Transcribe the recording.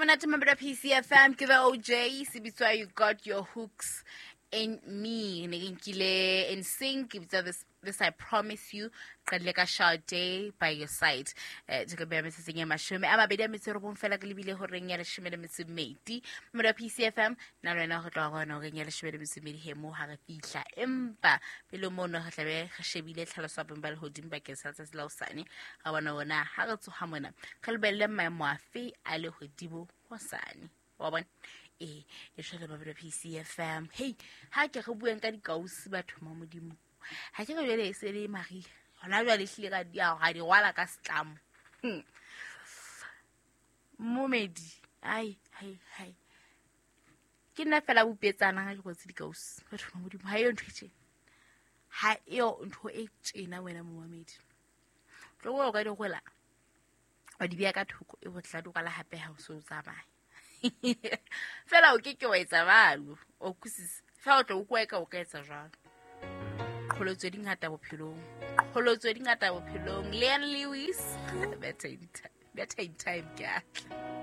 Monate mabelo PCFM ke the OJ se bitswa You Got Your Hooks in Me. Ne ke nkile in sync ke bitsa this I Promise You, qadile ka Sade By Your Side. Ke beya metsotsong e 29 fela ke lebile horeng ya 12. Mabelo PCFM na le wena go tloga go yona horeng ya 12 he mo ha re fihla, empa pele mono re tlabe re shebile tlhaloso ya bong ba lehodimo bakeng sa letsatsi la hosane. Ra bona ona ha re tsoha mona re lebelele maemo afe a lehodimo hosane, wa bona. Ee, e jwale babelo PCFM, hei, ha ke re bueng ka dikausi batho ma modimo. Ha ke re jwale e se le maria hona jwale ehlile ka di rwala ka setlamo. Momedi, ai hai hai, ke nna fela bopetsana ga ke rwetse dikausi batho ba modimo. Ha eo ntho e tjena, ha eo ntho e tjena wena momamedi. Tlo o ka di rwela wa di beha ka thoko, e botla di rwala hape ha o se o tsamaya fela o ke ke wa etsa jwalo, o kusisa fela o tlo o kwa ka o ka etsa jwalo. Qholotso di ngata bophelong, qholotso di ngata bophelong. Leon Lewis, better in time, better in time ke atla.